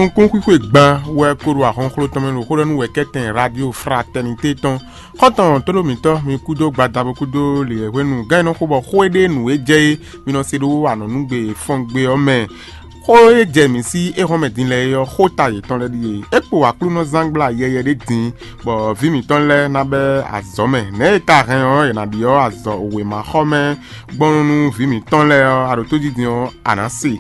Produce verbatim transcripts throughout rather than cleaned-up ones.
Nukúnxwíxwe gban wɛ ko ɖo ahɔnxló tɔn mɛ ɖo xó ɖɔ nú wɛ̌kɛ́tɛn Radio Fraternité tɔn. Xɔ́ntɔn tóɖó mǐtɔn, mi kúdó gbadabo kúdó lǐɛhwenu gán e nɔ xo bɔ xó e ɖe nǔ e jɛ é, mi nɔ se ɖó anɔ̌nugbe fɔ́ngbe ɔ́ mɛ. Xó e jɛ mǐ sí éhɔ́nmɛ din lɛ́ɛ é ɔ́, xó ta yětɔn lɛ́ɛ ɖíe: é kpo Aklúnɔzángbla yɛyɛ ɖé din, bɔ vǐ mǐtɔn lɛ́ɛ ná bɛ́ azɔ̌ mɛ. Nɛ̌ è ka hɛn ɔ́, è nǎ ɖyɔ́ azɔ̌ wěmaxɔmɛ gbɔn nú vǐ mǐtɔn lɛ́ɛ ɔ́, a ɖo tójí din ɔ́, a nǎ se.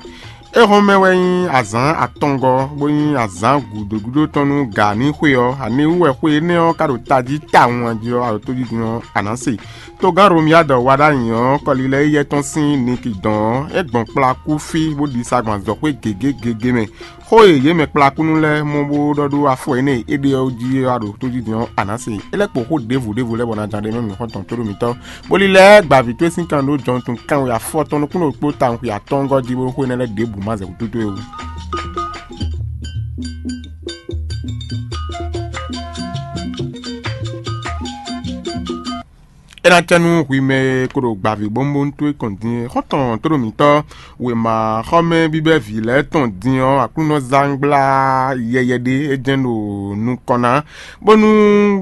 Éhɔ́nmɛ wɛ nyí azǎn atɔngɔ́, bó nyí azǎn gǔdo gúdo tɔn nú gǎ ní xwe ɔ́, aniwú wɛ xwe énɛ́ ɔ́ ka ɖo tají tawun a jí ɔ́, a ɖo tójí din ɔ́, a nǎ se. Togán Romiyád wa ɖ'ayǐ ɔ́, kɔlilɛ éyɛ́ tɔn sín nikidɔn ɔ́, é gbɔn kplakú fí, bó ɖi sa gbɔn azɔ̌xwé gěgé gěgé mɛ. Xó e yě mɛ kplakúnú lɛ́ɛ mɔ bó ɖɔ ɖó afɔ énɛ́ e é ɖe ɔ́ jí ɔ́, a ɖo tójí din ɔ́, a nǎ se. É lɛ́ kpo xó ɖěvo ɖěvo lɛ́ɛ bɔ ná ján ɖ'é mɛ mǐ xɔ́ntɔn tóɖó mǐtɔn. Bó lílɛ́ gba vǐ towe sín kan ɖó jɔnutun kanwe afɔtɔn nukúnnú ɖokpó tawun xwe atɔ́ɔ́ngɔ́ jí bó xwé énɛ́ lɛ́ɛ ɖěbǔ ma zɛ wútu towe ó. É ná cɛ nú hwi mɛ e ko ɖo gbavǐ bónbónú towe kɔn din é. Xɔ́ntɔn tóɖó mǐtɔn wěma xɔmɛ bíbɛ́ vǐ lɛ́ɛ tɔn din ɔ́, Aklúnɔzángbla yɛyɛ ɖé é jɛ́n ɖo nukɔn ná, bónú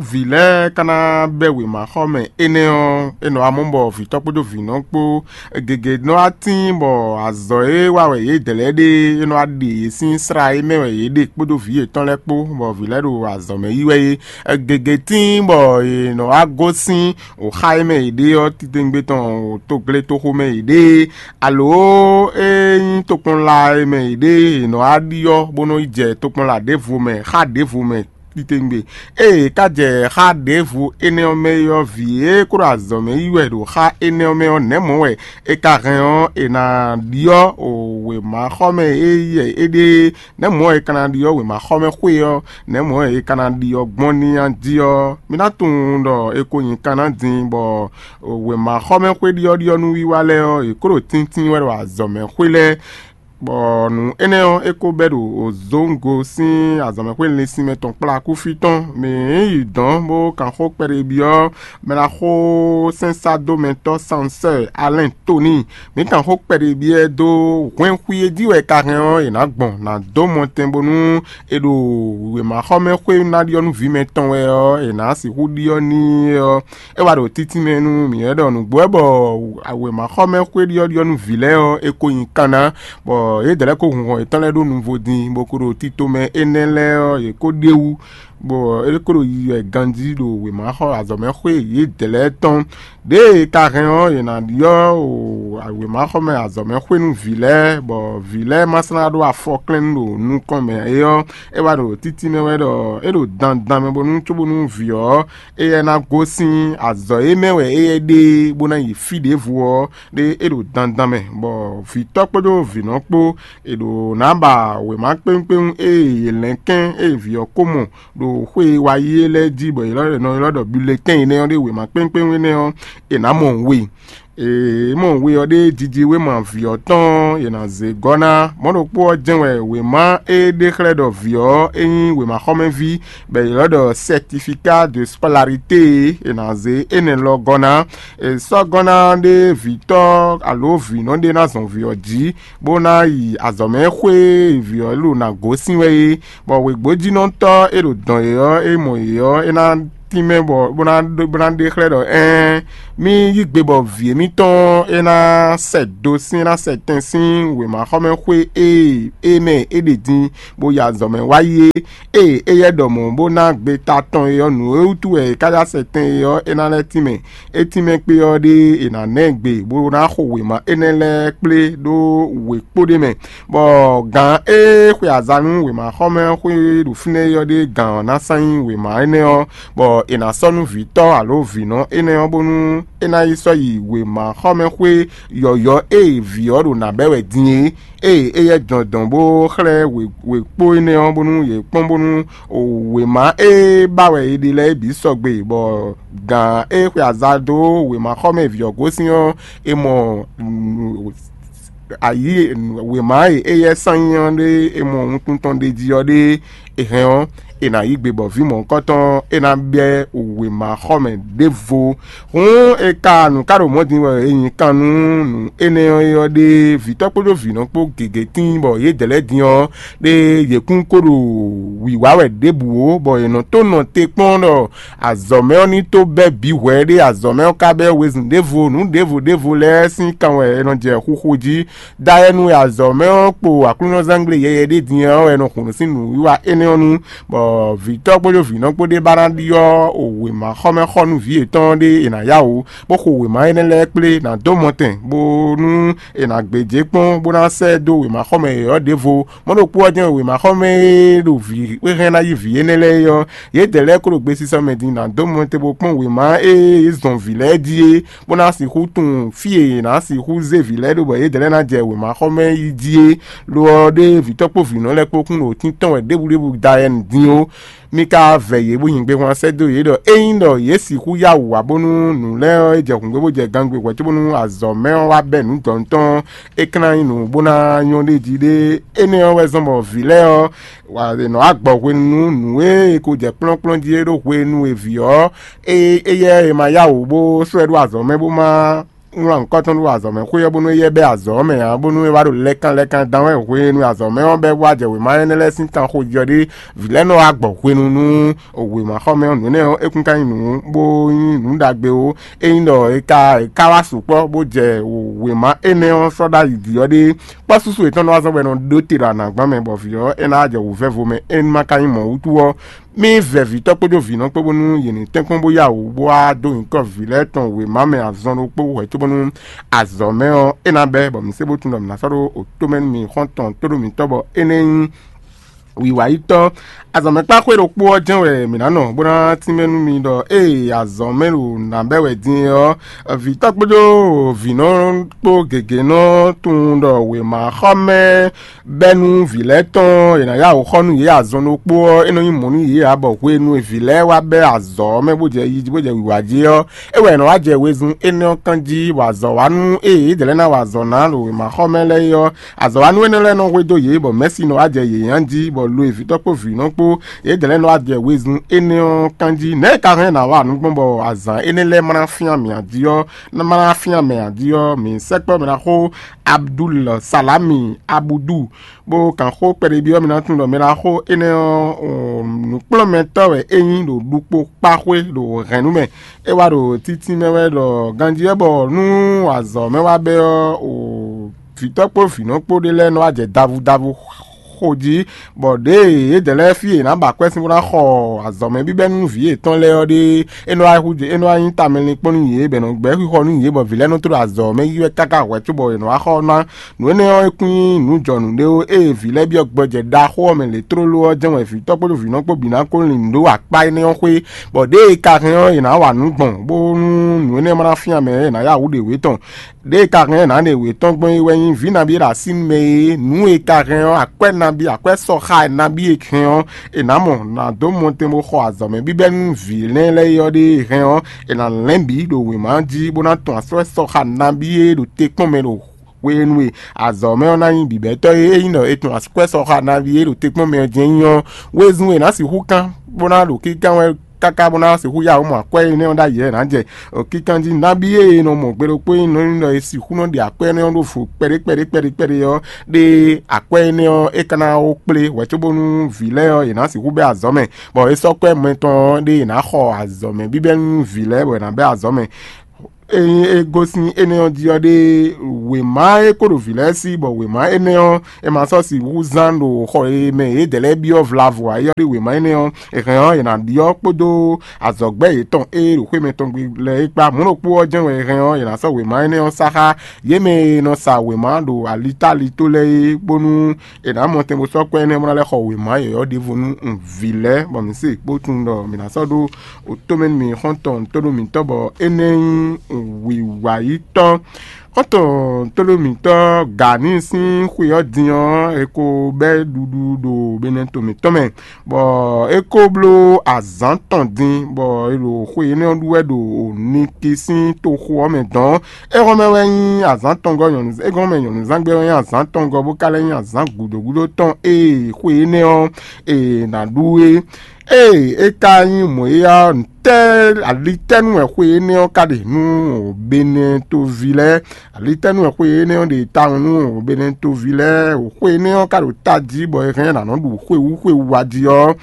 vǐ lɛ́ɛ ka ná bɛ́ wěma xɔmɛ énɛ́ ɔ́, é nɔ wá mɔ bɔ vǐtɔ́ kpódó vǐnɔ kpó gěgé nɔ wá tíin bɔ azɔ̌ e wa wɛ yědɛɛ lɛ́ɛ ɖe é nɔ wá ɖe yě sín slá e mɛ wɛ yě ɖe kpódó vǐ yětɔn lɛ́ɛ kpó, bɔ vǐ lɛ́ɛ ɖo azɔ̌ mɛ yí wɛ é. Gěgé tíin bɔ è nɔ wá gosín xá e mɛ yě ɖe ɔ́ titewungbe tɔn, togletoxo mɛ yě ɖe, alo é nyí tokpɔnla e mɛ yě ɖe è nɔ wá ɖyɔ́ bó nɔ yi jɛ tokpɔnla ɖěvo mɛ, xá ɖěvo mɛ titewungbe. Ée è ka jɛ xá ɖěvo énɛ́ ɔ́ mɛ é ɔ́, vǐ e kó ɖo azɔ̌ mɛ yí wɛ ɖo xá énɛ́ ɔ́ mɛ ɔ́, nɛ̌ mɔ̌ wɛ è ka hɛn ɔ́, è nǎ ɖyɔ́ wěma xɔ mɛ e yɛ é ɖe é? Nɛ̌ mɔ̌ wɛ è ka ná ɖyɔ́ wěma xɔ mɛ xwé ɔ́? Nɛ̌ mɔ̌ wɛ è ka ná ɖyɔ́ gbɔn n'i a jí ɔ́? Mi ná tunwun ɖɔ è ko nyi kan ná din, bɔ wěma xɔ mɛ xwé ɖyɔ́ɖyɔ́ nú wiwa lɛ́ɛ ɔ́, è kó ɖo tíntín wɛ ɖo azɔ̌ mɛ xwé lɛ́ɛ. Bɔ nǔ énɛ́ ɔ́, é ko bɛ́ ɖo Zongo sín azɔ̌mɛxwé linlin sinmɛ tɔn kplá kúfí tɔn. Mǐ yi dɔ̌n bó kan xó kpɛɖé byɔ́ mɛɖaxó sɛ́nsádomɛtɔ́ Sansɛ́ɛ Alɛ́n Toníi. Mǐ kan xó kpɛɖé byɔ́ ɛ dó hwɛ́nxwí e jí wɛ è ka hɛn ɔ́, è nǎ gbɔn ná dó mɔtɛn bónú è ɖo wěmaxɔmɛxwé ná ɖyɔ́ nú vǐ mɛtɔn wɛ ɔ́, è nǎ sixú ɖyɔ́ n'i ɔ́. É wá ɖo títí mɛ nú mǐ wɛ ɖɔ nǔgbó wɛ bɔ wěmaxɔmɛ xwé ɖyɔ́ɖyɔ́ nú vǐ lɛ́ɛ ɔ́, é ko nyi kan ná, bɔ yědɛɛ lɛ́ɛ ko hun hɔn yětɔn lɛ́ɛ ɖó nuvo din, bó ko ɖo tito mɛ énɛ́ lɛ́ɛ ɔ́, yě ko ɖ'é wú, bɔ é ko ɖo yiyi wɛ ganjí ɖo wěmaxɔ azɔ̌mɛxwé yědɛɛ lɛ́ɛ tɔn. Ɖěe ka hɛn ɔ́, è nǎ ɖyɔ́ wěmaxɔmɛ azɔ̌mɛxwé nú vǐ lɛ́ɛ, bɔ vǐ lɛ́ɛ ma slá ɖó afɔ klɛ́n ɖo nukɔn mɛ é ɔ́, é wá ɖo títí mɛ wɛ ɖɔ é ɖo dandan mɛ bónú cóbónú vǐ ɔ́ éyɛ́ ná gosín azɔ̌ e mɛ wɛ éyɛ́ ɖe bó ná yi fí ɖěvo ɔ́, ɖé é ɖo dandan mɛ, bɔ vǐtɔ́ kpódó vǐnɔ kpó è ɖo nǎ ba wěma kpéwúnkpéwún e yě lɛ́n kɛ́n e vǐ ɔ́ ko mɔ ɖo xwé e wá yi é lɛ́ɛ jí, bɔ è nɔ ylɔ́ ɖɔ bulletɛ́n énɛ́ ɔ́ ɖé wěma kpéwúnkpéwún énɛ́ ɔ́, è nǎ mɔ we. È mɔ we ɔ́ ɖé jijiwéma vǐ ɔ́ tɔn è nǎ zé gɔ́ ná. Mɔ̌ ɖokpó ɔ́ jɛ́n wɛ wěma e ɖe xlɛ́ ɖɔ vǐ ɔ́ é nyí wěmaxɔmɛví, bɔ è ylɔ́ ɖɔ certificat de scolarité e è nǎ zé énɛ́ lɔ gɔ́ ná. È sɔ́ gɔ́ ná ɖé vǐtɔ́ alo vǐnɔ ɖé ná zɔn vǐ ɔ́ jí, bó ná yi azɔ̌mɛ xwé e vǐ ɔ́ ɖo ná gosín wɛ é, bɔ wěgbójínɔtɔ́ e ɖo dɔn yě ɔ́, e mɔ yě ɔ́, é ná tínmɛ bɔ bó ná ɖó- bó ná ɖe xlɛ́ ɖɔ ɛ́n, mì yí gbe bɔ vǐ émítɔn é ná sɛ do sín, é ná sɛ tɛn sín wěmaxɔmɛxwé e é mɛ é ɖe din, bó yi azɔ̌ mɛ wá yi é. Ée éyɛ́ ɖɔ mɔ̌ bó ná gbeta tɔn é ɔ́, nǔ e wútu wɛ è ká yá sɛ tɛn é ɔ́, é ná lɛ́ tínmɛ. É tínmɛ kpé ɔ́ ɖée, è nǎ ná ɛ gbe bó ná xo wěma énɛ́ lɛ́ɛ kplé ɖó wěkpó ɖé mɛ, bɔ gǎn e xwe aza nú wěmaxɔmɛ xwé ɖo fínɛ́ é ɔ́ ɖe gǎn ɔ́ ná sán nyí wěma énɛ́ ɔ́, bɔ è nǎ sɔ́ nú vǐtɔ́ alo vǐnɔ énɛ́ ɔ́, bónú é ná yi sɔ́ yi wěmaxɔmɛ xwé yɔ̌yɔ́ e vǐ ɔ́ ɖo nǎ bɛ́ wɛ din é. Ée éyɛ́ jɔn dɔn bó xlɛ́ wěkpó énɛ́ ɔ́, bónú yě kpɔ́n bónú wěma e ba wɛ è ɖe lɛ́ɛ bǐ sɔgbe, bɔ gǎn e xwe aza dó wěmaxɔmɛ vǐ ɔ́ gosín ɔ́, è mɔ ayǐ wěma e éyɛ́ sán nyí ɔ́ ɖé e mɔ wuntun tɔn ɖ'é jí ɔ́ ɖé, è hɛn ɔ́, è nǎ yí gbe bɔ vǐ mɔ̌hunkɔtɔn ɔ́, é ná bɛ́ wěmaxɔmɛ ɖěvo. Hǔn è ka nǔ ká ɖo mɔ̌ din bɔ è nyi kan nú nǔ énɛ́ ɔ́ é ɔ́ ɖé, vǐtɔ́ kpódó vǐnɔ kpó gěgé tíin bɔ yědɛɛ lɛ́ɛ din ɔ́ ɖé yě kún ko ɖo wǐwá wɛ ɖěbǔ ó, bɔ è nɔ tó nɔ te kpɔ́n ɖɔ azɔ̌ mɛ ɔ́ ní tó bɛ́ bǐ hwɛ̌ ɖé, azɔ̌ mɛ ɔ́ ka bɛ́ wezun ɖěvo, nǔ ɖěvo ɖěvo lɛ́ɛ sín kan wɛ è nɔ jɛ xuxo jí. Dayɛnu e azɔ̌ mɛ ɔ́ kpo aklúnɔzángbé yɛyɛ ɖé din ɔ́ wɛ nɔ hun nǔ sín nǔwiwa énɛ́ ɔ́ nu, bɔ vǐtɔ́ kpódó vǐnɔ kpó ɖé ba ná ɖyɔ́ wěmaxɔmɛxɔnúví yětɔn ɖé è nǎ yá wǔ, bó xo wěma énɛ́ lɛ́ɛ kplé, nǎ dó mɔtɛn, bónú è nǎ gbéjé kpɔ́n, bó ná sɛ́ dó wěmaxɔmɛ yɔ̌yɔ́ ɖěvo. Mɔ̌ ɖokpó ɔ́ jɛ́n wěmaxɔmɛ e ɖo vǐ e hɛn ná yí vǐ énɛ́ lɛ́ɛ é ɔ́, yědɛɛ lɛ́ɛ kó ɖo gbesisɔ mɛ din ná dó mɔtɛn bó kpɔ́n wěma e yě zɔn vǐ lɛ́ɛ jí é, bó ná sixú tunwun fí e yě ná sixú zé vǐ lɛ́ɛ ɖó bɔ yědɛɛ lɛ́ɛ ná jɛ wěmaxɔmɛ yi jí é. Lo ɔ́ ɖé vǐtɔ́ kpó vǐnɔ lɛ́ɛ kpó kún ɖo tíntɔ́n wɛ ɖěbǔɖěbǔ da yɛ nǔ dín ó. Mí ka vɛ yě bó nyi gbéhwan sɛ́ dó yě ɖɔ ényí ɖɔ yě sixú yá wǔ wá bónú nǔ lɛ́ɛ ɔ́ é jɛ hǔngbé bó jɛ gangbé hwɛ̌ cóbónú azɔ̌ mɛ ɔ́ wá bɛ́ nǔ dɔ̌n tɔn ɔ́, é ka ná nyí nǔ bó ná nyɔ́ ɖ'é jí ɖé. Énɛ́ ɔ́ wɛ zɔ́n bɔ vǐ lɛ́ɛ ɔ́ wa è nɔ wá gbɔ hwenu nú nǔ e è ko jɛ kplɔ́nkplɔ́n jí é ɖó hwenu e vǐ ɔ́, é éyɛ́ è ma yá wǔ bó sɔ́ ɛ ɖó azɔ̌ mɛ bó má wlán nǔkɔtɔn ɖó azɔ̌ mɛ xwé ɔ́ bónú éyɛ́ bɛ́ azɔ̌ mɛ ǎ, bónú é wá ɖo lɛ́kan lɛ́kan dán wɛ hwenu e azɔ̌ mɛ ɔ́ bɛ́ wá jɛ wěma énɛ́ lɛ́ɛ sín kan xo jí ɔ́ ɖé. Vǐ lɛ́ɛ nɔ wá gbɔ hwenu nú wěmaxɔmɛ ɔ́, nǔ énɛ́ ɔ́, é kún ka nyí nǔ bó nyí nǔ ɖagbe ó. Ényí ɖɔ è ka è ka wá sukpɔ́ bó jɛ wěma énɛ́ ɔ́ sɔ́ ɖ'ayǐ jí ɔ́ ɖé, kpɔ́ súsú yětɔn nɔ wá zɔ́n bɔ è nɔ ɖó te ɖo anǎgbán mɛ, bɔ vǐ ɔ́ é ná wá jɛ wǔvɛ́vo mɛ, é ní ma ka nyí mɔ̌ wútu ɔ́, mì vɛ vǐtɔ́ kpódó vǐnɔ kpó bónú yě ní tɛ́nkpɔ́n bó yá wǔ bó wá dó nyǐkɔ vǐ lɛ́ɛ tɔn wěma mɛ azɔn ɖokpó hwɛ̌ cóbónú azɔ̌ mɛ ɔ́ é ná bɛ́, bɔ mǐ sé bó tunwun ɖɔ mǐ ná sɔ́ ɖó otó mɛ nú mi xɔ́ntɔn tóɖó mǐtɔn bɔ é nɛ́ nyí wiwayítɔ́. Azɔ̌mɛkpáxwé ɖokpó ɔ́ jɛ́n wɛ mǐ ná nɔ bó ná tínmɛ nú mi ɖɔ ée azɔ̌ mɛ ɖo nǎ bɛ́ wɛ din é ɔ́, vǐtɔ́ kpódó vǐnɔ kpó gěgé nɔ tunwun ɖɔ wěmaxɔmɛ bɛ́ nú vǐ lɛ́ɛ tɔn è nǎ yá wǔ xɔ nú yě azɔn ɖokpó ɔ́, é nɔ nyí mɔ̌ nú yě ǎ, bɔ hwenu e vǐ lɛ́ɛ wá bɛ́ azɔ̌ ɔ́ mɛ bó jɛ yi jí bó jɛ wǐwá jí ɔ́, é wɛ è nɔ wá jɛ wezun énɛ́ ɔ́ kan jí, bɔ azɔ̌ wá nú ée yědɛɛ lɛ́ɛ ná wa azɔ̌ ná ɖo wěmaxɔmɛ lɛ́ɛ é ɔ́, azɔ̌wanú énɛ́ lɛ́ɛ nɔ hwedó yě, bɔ mɛ̌si nɔ wá jɛ yě nyan jí, bɔ lo e vǐtɔ́ kpó vǐnɔ kpó yědɛɛ lɛ́ɛ nɔ wá jɛ wezun énɛ́ ɔ́ kan jí. Nɛ̌ è ka hɛn ná wa nǔ gbɔn bɔ azǎn énɛ́ lɛ́ɛ ma ná fyán mǐ jí ɔ́, ma ná fyán mɛ jí ɔ́, mǐ sɛkpɔ́ mɛ ná xó Abdul Salami Abudu, bó kan xó kpɛɖébyɔ́ mɛ ná tunwun ɖɔ mɛ ná xó énɛ́ ɔ́, nǔkplɔ́nmɛtɔ́ wɛ é nyí ɖo ɖukpó kpá xwé ɖo hɛ̌nnu mɛ. É wá ɖo títí mɛ wɛ ɖɔ ganjí wɛ bɔ nú azɔ̌ mɛ wá bɛ́ ɔ́, vǐtɔ́ kpó vǐnɔ kpó ɖé lɛ́ɛ nɔ wá jɛ davudavu xo jí, bɔ ɖěe yědɛɛ lɛ́ɛ fí e è nǎ ba akwɛ́ sín bó ná xɔ azɔ̌ mɛ bíbɛ́ nú vǐ yětɔn lɛ́ɛ ɔ́ ɖe, é nɔ wá hú é nɔ wá nyí tamɛlinkpɔ́n nú yě, bɔ è nɔ gbɛ́ xixɔ nú yě, bɔ vǐ lɛ́ɛ nɔ tló azɔ̌ mɛ yi wɛ káká hwɛ̌ cóbɔ è nɔ wá xɔ ná. Nǔ énɛ́ ɔ́, é kún nyí nǔ jɔnǔ ɖé ó. Ée vǐ lɛ́ɛ byɔ́ gbɔjɛ ɖaxó ɔ́ mɛ lě tlóló ɔ́ jɛ́n wɛ vǐtɔ́ kpódó vǐnɔ kpó bǐ ná kó lin nǔ ɖó akpá énɛ́ ɔ́ xwé, bɔ ɖěe è ka hɛn ɔ́, è nǎ wa nǔ gbɔn, bónú nǔ énɛ́ ma ná fyán mɛ ǎ, è nǎ yá wǔ ɖě wětɔn. Ɖěe ka hɛn ná ɖe wětɔn gbɔn é wɛ nyí vǐ nabí e ɖo así nú mɛ é. Nǔ e ka hɛn ɔ́, akwɛ́ nabí, akwɛ́ sɔxa nabí e hɛn ɔ́, è nǎ mɔ, nǎ dó mɔtɛn bó xɔ azɔ̌ mɛ bíbɛ́ nú vǐ lɛ́ɛ lɛ́ɛ é ɔ́ ɖe e hɛn ɔ́, è nǎ lɛ́n bǐ ɖo wěma jí bó ná tɔn akwɛ́ sɔxa nabí e ɖo te kpɔ́n mɛ ɖo hwenu e azɔ̌ mɛ ɔ́ ná nyí bǐbɛ́tɔ́ é. Ényí ɖɔ è tɔn akwɛ́ sɔxa nabí e ɖo te kpɔ́n mɛ ɔ́ jɛ́n nyí ɔ́, wezun e è nǎ sixú kán bó ná ɖo kíkán wɛ káká bó ná sixú yá wǔ mɔ akwɛ́ énɛ́ ɔ́ ɖ'ayǐ wɛ è nǎ jɛ. Kíkán jí nabí e è nɔ mɔ gbe ɖokpó é nɔ nyí ɖɔ è sixú nɔ ɖe akwɛ́ énɛ́ ɔ́ ɖó vo kpɛɖé kpɛɖé kpɛɖé kpɛɖé ɔ́, ɖe akwɛ́ énɛ́ ɔ́ é ka ná wó kplé hwɛ̌ cóbónú vǐ lɛ́ɛ ɔ́, yě ná sixú bɛ́ azɔ̌ mɛ, bɔ é sɔ́ kwɛ́ mɛtɔn ɔ́ ɖe è nǎ xɔ azɔ̌ mɛ bíbɛ́ nú vǐ lɛ́ɛ bɔ è nǎ bɛ́ azɔ̌ mɛ. Ényí é gosín énɛ́ ɔ́ jí ɔ́ ɖe, wěma e kó ɖo vǐ lɛ́ɛ sí, bɔ wěma énɛ́ ɔ́, è ma sɔ́ sixú zán ɖo xɔ e mɛ yědɛɛ lɛ́ɛ byɔ́ vlavo ǎ é ɔ́ ɖe wěma énɛ́ ɔ́, è hɛn ɔ́, è nǎ ɖyɔ́ kpódó azɔ̌gbɛ́ yětɔn e ɖo xwé mɛtɔn gbe lɛ́ɛ é kpá. Mɔ̌ ɖokpó ɔ́ jɛ́n wɛ è hɛn ɔ́, è nǎ sɔ́ wěma énɛ́ ɔ́ sá xá yě mɛ e nɔ sa wěma ɖo alitáli tó lɛ́ɛ é, bónú è nǎ mɔ tɛn bó sɔ́ kwɛ́ énɛ́ bó ná lɛ́ xɔ wěma yɔ̌yɔ́ ɖěvo nú vǐ lɛ́ɛ, bɔ mǐ se bó tunwun ɖɔ mǐ ná sɔ́ ɖó tomɛ nú mi xɔ́ntɔn tónú mǐtɔn bɔ énɛ́ nyí wǐwayítɔ́. Xɔ́ntɔn tlóló mǐtɔn Gani sín xwe ɔ́ din ɔ́, è ko bɛ́ ɖuɖu ɖo Benɛto mǐtɔn mɛ, bɔ é ko bló azǎn tɔn din, bɔ è ɖo xwe énɛ́ ɔ́ ɖu wɛ ɖo Niki sín toxo ɔ́ mɛ dɔ̌n. É hɔn mɛ wɛ nyí azǎn tɔngɔ́ nyɔ̌nu, é hɔn mɛ nyɔ̌nuzángbe wɛ nyí azǎn tɔngɔ́, bó ka lɛ́ nyí azǎn gǔdo gúdo tɔn e xwe énɛ́ ɔ́ è nǎ ɖu é. Ée é ka nyí mɔ̌ é ɔ́, ntɛ́ alitɛ́nú wɛ xwe énɛ́ ɔ́ ka ɖe nú Benɛtoví lɛ́ɛ? Alitɛ́nú wɛ xwe énɛ́ ɔ́ ɖe tawun nú Benɛtoví lɛ́ɛ? Xwe énɛ́ ɔ́ ka ɖo tají bɔ è hɛn ɔ́ è nǎ nɔ ɖu xwewú xwewú wá jí ɔ́,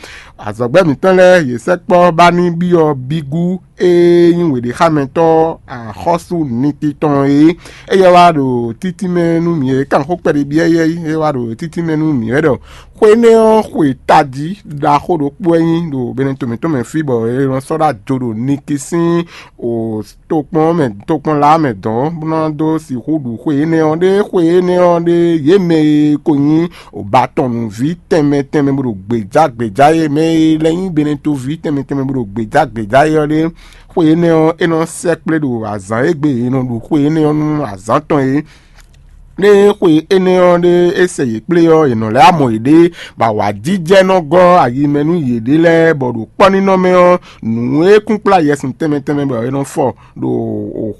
azɔ̌gbɛ́ mǐtɔn lɛ́ɛ yě sɛkpɔ́ ba ní byɔ́ bígú e nyí wěɖéxámɛtɔ́ axɔ́sú Niki tɔn é. Éyɛ́ wá ɖo títínmɛ nú mì e kan xó kpɛɖé byɔ́ éyɛ́ é, é wá ɖo títínmɛ nú mì wɛ ɖɔ xwe énɛ́ ɔ́ xwe tají ɖaxó ɖokpó wɛ nyí ɖo Benɛto mǐtɔn mɛ fí, bɔ è nɔ sɔ́ ɖó ajo ɖo Niki sín o tokpɔn mɛ tokpɔn lá mɛ dɔn bó ná dó sixú ɖu xwe énɛ́ ɔ́ ɖé. Xwe énɛ́ ɔ́ ɖé yě mɛ e ko nyí obatɔnnuví tɛnmɛ tɛnmɛ bó ɖo gbějá gbějá é mɛ e lɛ́ nyí Benɛtoví tɛnmɛ tɛnmɛ bó ɖo gbějá gbějá é ɔ́ ɖé. Xwe énɛ́ ɔ́, é nɔ sɛkplé ɖo azǎn e gbe è nɔ ɖu xwe énɛ́ ɔ́ nú azǎn tɔn é. Ɖé xwe énɛ́ ɔ́ ɖé é sɛ yě kplé ɔ́, è nɔ lɛ́ amɔ yěɖée, bɔ awǎjijɛ nɔ gɔ́ ayi mɛ nú yěɖée lɛ́ɛ, bɔ ɖo kpɔ́nínɔ mɛ ɔ́, nǔ e kún kplá yɛsun tɛnmɛ tɛnmɛ bɔ è nɔ fɔ ɖo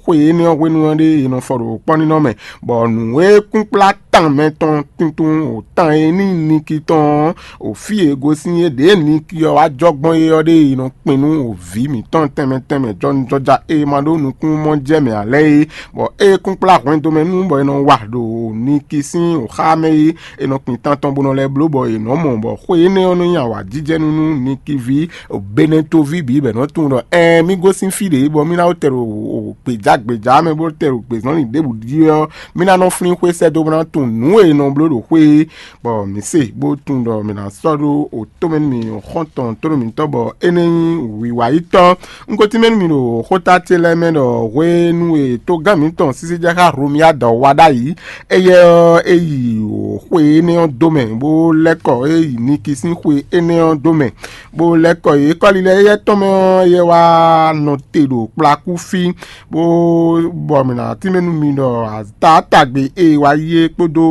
xwe énɛ́ ɔ́ hwenu ɔ́ ɖé è nɔ fɔ ɖo kpɔ́nínɔ mɛ, bɔ nǔ e kún kplá tan mɛ tɔn tuntun o tan e ní Niki tɔn ɔ́, o fí e gosín é ɖě Niki ɔ́ wá jɔ gbɔn é ɔ́ ɖé è nɔ kpin nú o vǐ mǐtɔn tɛnmɛ tɛnmɛ jɔnijɔja e ma ɖó nukún mɔ jɛ mɛ ǎ lɛ́ɛ é, bɔ é kún kplá hwɛndo mɛ nú bɔ è nɔ wa ɖo Niki sín o xá mɛ é, è nɔ kpin tan tɔn bó nɔ lɛ́ bló bɔ è nɔ mɔ bɔ xwe énɛ́ ɔ́ nɔ nyi awǎjijɛnú nú Niki ví Benɛtoví bǐ bɔ è nɔ tunwun ɖɔ ɛɛn mì gosín fí ɖě bɔ mì ná wó tɛ ɖo gbějá gbějá mɛ bó tɛ ɖo gbězɔnlin ɖěbǔ jí ɔ́, mì ná nɔ flín xwé sɛ́ dó bó ná tunwun nǔ e è nɔ bló ɖo xwé é, bɔ mǐ se bó tunwun ɖɔ mǐ ná sɔ́ ɖó o tó mɛ nú mì xɔ́ntɔn tónú mǐtɔn bɔ é nɛ́ nyí wǐwayítɔ́. Un ko tínmɛ nú mi ɖo xóta ce lɛ́ɛ mɛ ɖɔ hwenu e togán mǐtɔn sísí jɛ xá Hlomia dɔ wa ɖ'ayǐ, éyɛ́ ɔ́, é yi xwe énɛ́ ɔ́ dó mɛ, bó lɛ́ kɔ é yi Niki sín xwe énɛ́ ɔ́ dó mɛ, bó lɛ́ kɔ yě kɔ́li lɛ́ɛ éyɛ́ tɔn mɛ ɔ́, éyɛ́ wá nɔ te ɖo kplakú fí, bó bɔ mǐ ná tínmɛ nú mi ɖɔ taátagbe e wa yí é kpódó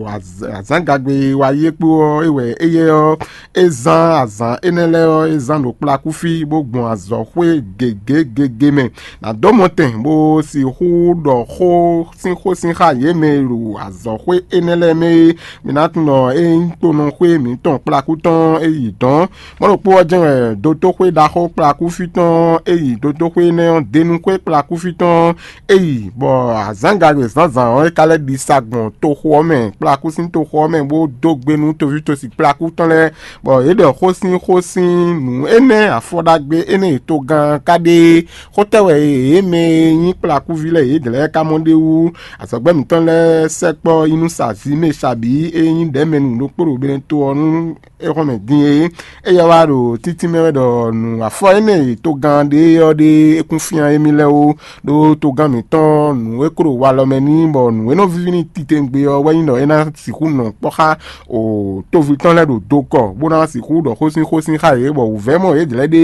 azǎngagbe e wa yí é kpó ɔ́, é wɛ éyɛ́ ɔ́, é zán azǎn énɛ́ lɛ́ɛ ɔ́, é zán ɖo kplakú fí, bó gbɔn azɔ̌xwé gěgé gěgé mɛ. Nǎ dó mɔtɛn bó sixú ɖɔ xó sín xó sín xá yě mɛ e ɖo azɔ̌xwé énɛ́ lɛ́ɛ mɛ é. Mi ná tunwun ɖɔ é nyí tonɔxwé mǐtɔn kplakú tɔn é yi dɔ̌n. Mɔ̌ ɖokpó ɔ́ jɛ́n wɛ dotóxwé ɖaxó kplakúfí tɔn é yi dotóxwé énɛ́ ɔ́, denúxwé kplakúfí tɔn é yi, bɔ azǎngagbe zǎnzǎn ɔ́, é ka lɛ́ ɖi sa gbɔn toxo ɔ́ mɛ, kplakú sín toxo ɔ́ mɛ, bó dó gbe nú toví tosi kplakú tɔn lɛ́ɛ, bɔ yě ɖɔ xó sín xó sín nǔ énɛ́ afɔ ɖagbe énɛ́ e togán ka ɖe é. Xótɛ́ wɛ yě mɛ e nyí kplakúví lɛ́ɛ yědɛɛ lɛ́ɛ ka mɔ ɖ'é wú? Azɔ̌gbɛ́ mǐtɔn lɛ́ɛ sɛkpɔ́ yi nú sa Zimesabǐ e nyí ɖɛ̌mɛnu ɖokpó ɖo Benɛto ɔ́ nú é xɔ́n mɛ din é. Éyɛ́ wá ɖo títí mɛ wɛ ɖɔ nǔ afɔ énɛ́ e togán ɖe ɔ́ ɖe é kún fyán émí lɛ́ɛ ó, ɖó togán mǐtɔn nǔ e kó ɖo walɔ mɛ n'i, bɔ nǔ e nɔ víví n'i titewungbe ɔ́ wɛ nyí ɖɔ é ná sixú nɔ kpɔ́ xá o toví tɔn lɛ́ɛ ɖo dokɔ, bó ná sixú ɖɔ xósínxósín xá yě, bɔ wǔvɛ́ mɔ yědɛɛ ɖe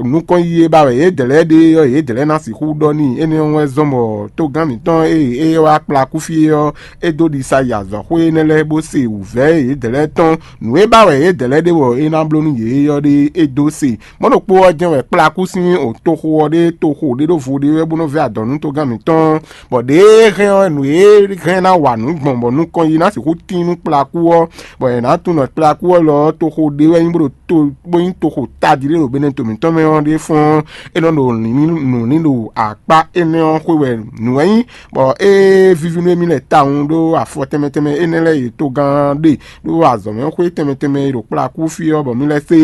nukɔn yí e ba wɛ yědɛɛ ɖe ɔ́, yědɛɛ ná sixú ɖɔ n'i. Énɛ́ ɔ́ wɛ zɔ́n bɔ togán mǐtɔn e é wá kplá kú fí é ɔ́, é dó ɖisa yi azɔ̌xwé énɛ́ lɛ́ɛ bó se wǔvɛ́ yědɛɛ tɔn. Nǔ e ba wɛ yědɛɛ ɖe bɔ é ná bló nú yě é ɔ́ ɖe é dó se. Mɔ̌ ɖokpó ɔ́ jɛ́n wɛ kplá kú sín o toxo ɔ́ ɖe, toxo ɖé ɖó vo ɖé wɛ bó nɔ vɛ́ adɔ̌ nú togán mǐtɔn, bɔ ɖěe hɛn ɔ́, nǔ e hɛn ná wa nǔ gbɔn bɔ nukɔn yi ná sixú tín nú kplakú ɔ́, bɔ è nǎ tunwun ɖɔ kplakú ɔ́ lɔ ɔ́, toxo ɖé wɛ nyí bó ɖo to bó nyí toxo tají ɖé ɖo Benɛto mǐtɔn mɛ ɔ́ ɖé fɔ́n. É nɔ ɖo nǔ ní ɖo akpá énɛ́ ɔ́ xwe wɛ nǔ wɛ nyí, bɔ é víví nú émí lɛ́ɛ tawun ɖó afɔ tɛnmɛ tɛnmɛ énɛ́ lɛ́ɛ e togán ɖe ɖó azɔ̌mɛxwé tɛnmɛ tɛnmɛ e ɖo kplakú fí ɔ́, bɔ mí lɛ́ se.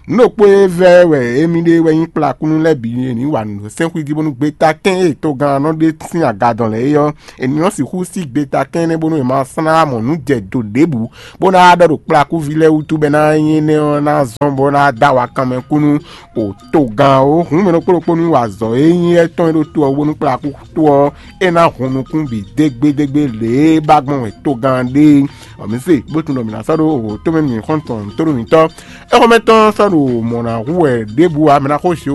Nǔ ɖokpó e vɛ́ wɛ émí ɖe wɛ nyí kplakúnú lɛ́ɛ bǐ e ní wa nǔ sɛ́n xwíjí bónú gbetakɛ́n e togán ɔ́ nɔ ɖe sín aga dɔn lɛ́ɛ é ɔ́, è ní nɔ sixú sí gbetakɛ́n énɛ́ bónú è ma slá mɔ nǔ jɛ do ɖěbǔ, bó ná ɖɔ ɖo kplakúví lɛ́ɛ wútu bɔ é ná nyí énɛ́ ɔ́ ná zɔ́n bɔ é ná dó awa kanmɛ kú nú o togán ó. Hǔn mɛ ɖokpó ɖokpó ní wa azɔ̌ e nyí étɔn e ɖo to ɔ́ wú bónú kplakú to ɔ́, é ná hun nukún bǐ dégbédégbé lě e ba gbɔn wɛ togán ɖe é. Ɔ, mǐ se bó tunwun ɖɔ mǐ ná sɔ́ ɖó wǒ tomɛ nú mǐ xɔ́ntɔn tónú mǐtɔn. Éxɔ́mɛtɔn sɔ́ ɖo mɔ̌ ná hu wɛ ɖěbǔ ǎ, mǐ ná xo Jehofa